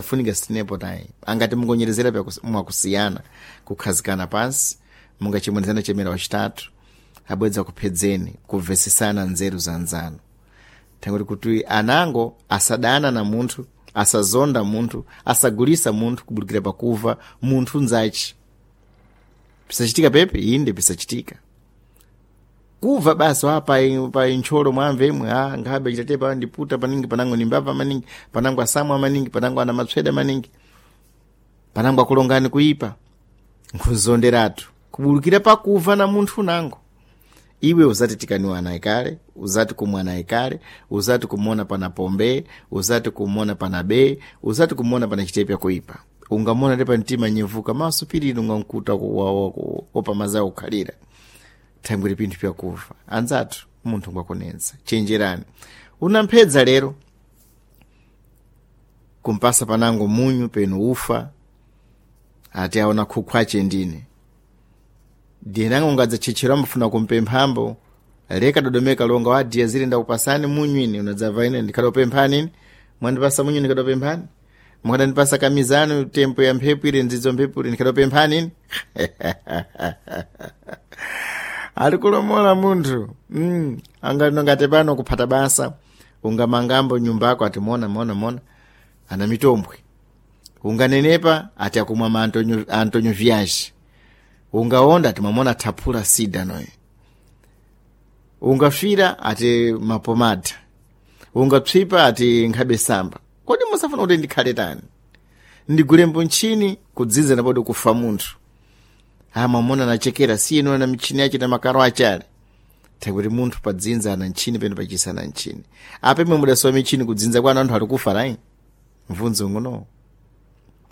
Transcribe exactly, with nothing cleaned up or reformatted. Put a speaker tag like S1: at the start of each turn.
S1: Funika sitinepo tayi angati mungonyerezera mwakusiyana kukhazikana pansi mungachimwenzana chemera wachitatu abwedza kuphedzeni kumvesesana nzeru za nzanu thangoti kuti anango asadana na munthu, asazonda munthu, asagulisa munthu kubudikira pakuva munthu nzachi. Pisachitika pepe inde pisachitika kuva basi wa pa pa intcholo mwamve imwe a nkhabe chitatepa ndiputa paningi panango nimbava maningi panango asamwa maningi panango ana matsweda maningi panango akulongani kuipa nkhuzonderatu kubulukira pakuva na munthu nango. Iwe uzati tikaniwa naye kale, uzati kumwa naye kale, uzati kumona pana pombe, uzati kumona pana be, uzati kumona pana chitepe kuipa. Ungamona tepa mtima nyevuka maso piriri ungankuta opa mazawo kukhalira thangwiri pinthu pyakufa. Anzathu munthu ngwakunensa chenjerani unamphedza lero kumpasa panango munyu peno ufa ati aona khukhu ache ndine diye ungadzachetchera ambafuna kumpemphambo leka dodomeka longa wadiya zile ndakupasani munyu ine unadzava ine ndikadopemphani ine mwandipasa munyu ndikadopemphani mukadandipasa kamizano tempo ya mphepo ile ndzidzo mphepo ile ndikadopemphani ine. Ali kulomola munthu mm. Angati pano kuphata basa ungamangambo nyumba yako ati mona mona mona ana mitombwe unganenepa ati akumwa ma Antonio, Antonio Viage ungaonda ati mwamona thaphula sida noyo ungafira ati mapomada ungapsipa ati nkhabe samba. Kodi musafuna kuti ndikhale tani ndigulembo ntchini kudzinza napodi kufa munthu amamona nachekera sino na michini yache na makaro achale takuti munthu padzinza ana ntchini peno pachisa ana ntchini apa imwe mudasowa michini kudzinza kwanu anthu ali kufa lai mvunzo nguno.